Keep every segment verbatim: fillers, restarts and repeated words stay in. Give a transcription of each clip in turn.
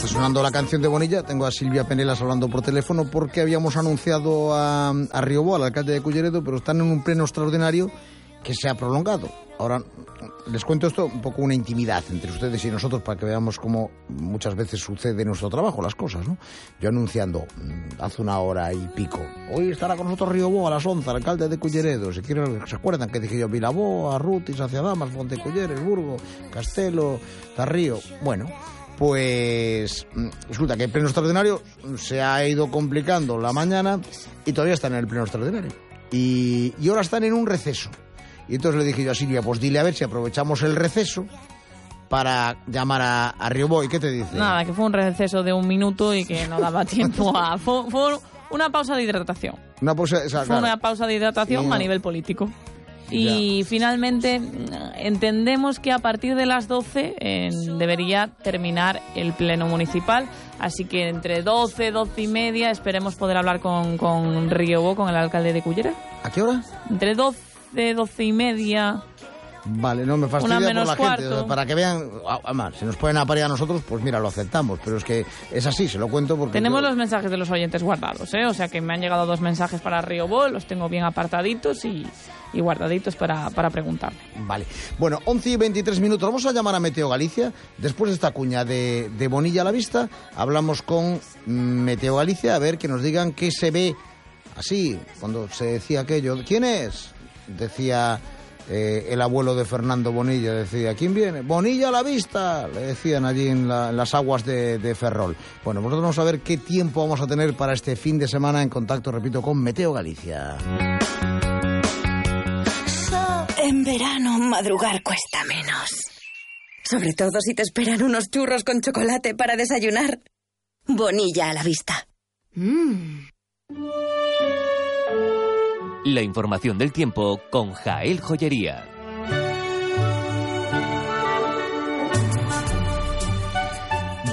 Está sonando la canción de Bonilla. Tengo a Silvia Penelas hablando por teléfono porque habíamos anunciado a, a Riobó, al alcalde de Culleredo, pero están en un pleno extraordinario que se ha prolongado. Ahora les cuento esto, un poco una intimidad entre ustedes y nosotros para que veamos cómo muchas veces sucede en nuestro trabajo las cosas, ¿no? Yo anunciando hace una hora y pico, hoy estará con nosotros Riobó a las once, el alcalde de Culleredo. Si quieren, ¿se acuerdan que dije yo? Vilaboa, Arruti, Saciadamas, Fonteculleres, Burgo, Castelo, Tarrío. Bueno, pues resulta que el pleno extraordinario se ha ido complicando la mañana y todavía están en el pleno extraordinario. Y, y ahora están en un receso. Y entonces le dije yo a Silvia, pues dile a ver si aprovechamos el receso para llamar a, a Riobó. ¿Y qué te dice? Nada, que fue un receso de un minuto y que no daba tiempo a... Fue, fue una pausa de hidratación. Una pausa, o sea, fue claro. una pausa de hidratación no... a nivel político. Y ya. Finalmente entendemos que a partir de las doce eh, debería terminar el pleno municipal. Así que entre doce, doce y media esperemos poder hablar con, con Riobó, con el alcalde de Culleredo. ¿A qué hora? Entre doce, doce y media. Vale, no me fastidia Una por menos la cuarto. gente, para que vean, además, si nos pueden aparear a nosotros, pues mira, lo aceptamos, pero es que es así, se lo cuento porque... Tenemos yo... los mensajes de los oyentes guardados, ¿eh? O sea que me han llegado dos mensajes para Riobó, los tengo bien apartaditos y, y guardaditos para, para preguntarle. Vale, bueno, once y veintitrés minutos, vamos a llamar a Meteo Galicia, después de esta cuña de, de Bonilla a la vista, hablamos con Meteo Galicia a ver que nos digan qué se ve así, cuando se decía aquello, ¿quién es? Decía... Eh, el abuelo de Fernando Bonilla decía, ¿quién viene? Bonilla a la vista, le decían allí en, la, en las aguas de, de Ferrol. Bueno, nosotros vamos a ver qué tiempo vamos a tener para este fin de semana en contacto, repito, con Meteo Galicia. En verano madrugar cuesta menos. Sobre todo si te esperan unos churros con chocolate para desayunar. Bonilla a la vista. Mmm. La información del tiempo con Jael Joyería.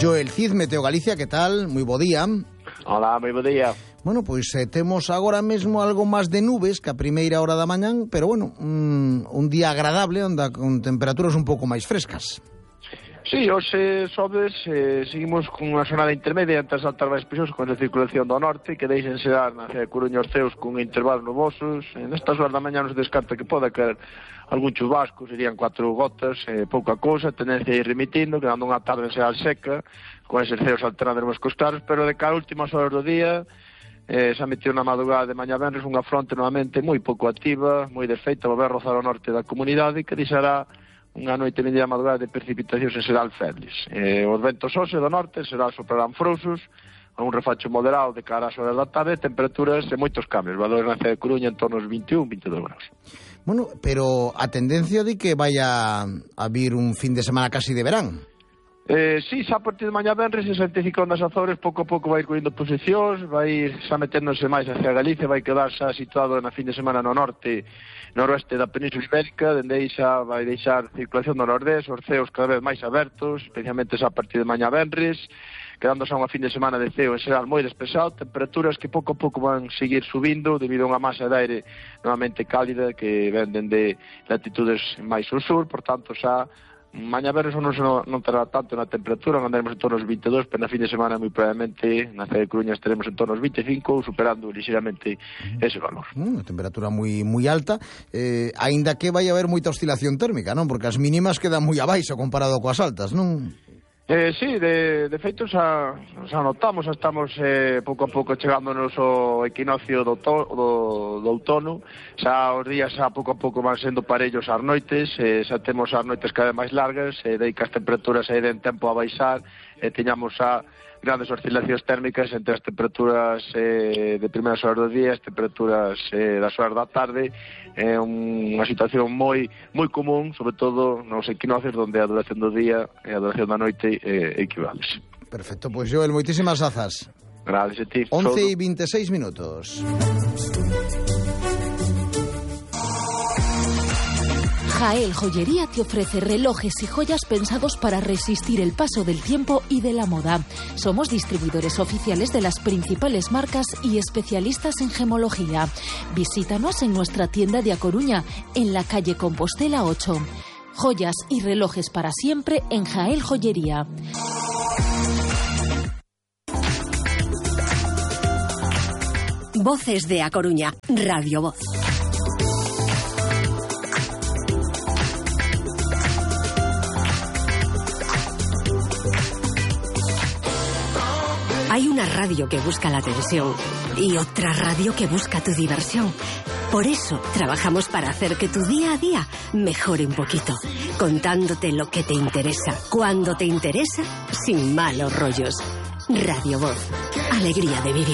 Joel Cid, Meteo Galicia, ¿qué tal? Muy bo día. Hola, moi bo día. Bueno, pois eh, temos agora mesmo algo máis de nubes que a primeira hora da mañán, pero bueno, un, un día agradable, onda con temperaturas un pouco máis frescas. Sí, hoxe sobes, eh, seguimos con unha xornada intermedia entre as altas máis presións con a circulación do norte que deixen xerar na cidade de Coruña os ceos con intervalos nubosos. En estas horas da mañá nos descarta que poda caer algún chubasco, serían cuatro gotas, eh, pouca cousa, tendencia a ir remitindo, quedando unha tarde xeral seca, con eses ceos alternando cos claros, pero de cara a últimas horas do día eh, se ha metido na madrugada de mañá venres unha fronte novamente moi pouco activa, moi desfeita, volver a rozar o norte da comunidade que deixará unha noite media madrugada de precipitacións en xeral febles. Eh, os ventos hoxe do norte será soprarán frouxos, a un refacho moderado de cara ás horas da tarde, temperaturas de moitos cambios, valores na cidade de Coruña en torno aos vinte e un, vinte e dous graus. Bueno, pero a tendencia de que vaya a vir un fin de semana casi de verán. Eh, sí, xa a partir de mañá venres ese anticiclón das Azores pouco a pouco vai ir coindo posicións, vai ir xa meténdose máis hacia Galicia, vai quedar xa situado na fin de semana no norte noroeste da Península Ibérica, dende aí xa vai deixar circulación do nordés, os ceos cada vez máis abertos, especialmente xa a partir de mañá venres, quedando xa unha fin de semana de ceo en xeral moi despexado, temperaturas que pouco a pouco van seguir subindo debido a unha masa de aire novamente cálida que ven dende latitudes máis ao sur, por tanto xa mañá verres non, non terá tanto na temperatura, andaremos en torno aos vinte e dous, pero na fin de semana moi probablemente na cidade de Coruña estaremos en torno aos vinte e cinco, superando ligeramente ese valor. Unha mm, temperatura moi moi alta, eh, aínda que vai haber moita oscilación térmica, non? Porque as mínimas quedan moi abaixo comparado coas altas, non? Eh, sí, de, de feito xa, xa notamos, xa estamos eh, pouco a pouco chegándonos ao equinoccio do, to, do, do outono, xa os días xa pouco a pouco van sendo parellos ás noites, eh, xa temos as noites cada vez máis largas, e eh, dei que as temperaturas aí den tempo a baixar, e eh, teñamos xa grandes oscilacións térmicas entre as temperaturas eh, de primeiras horas do día e as temperaturas eh, das horas da tarde. É eh, unha situación moi moi común, sobre todo nos equinoccios onde a duración do día e a duración da noite eh, equivales. Perfecto, pois pues Joel, moitísimas grazas. Gracias a ti. once e veintiséis minutos. Jael Joyería te ofrece relojes y joyas pensados para resistir el paso del tiempo y de la moda. Somos distribuidores oficiales de las principales marcas y especialistas en gemología. Visítanos en nuestra tienda de A Coruña, en la calle Compostela ocho. Joyas y relojes para siempre en Jael Joyería. Voces de A Coruña, Radio Voz. Hay una radio que busca la atención y otra radio que busca tu diversión. Por eso trabajamos para hacer que tu día a día mejore un poquito, contándote lo que te interesa, cuando te interesa, sin malos rollos. Radio Voz, alegría de vivir.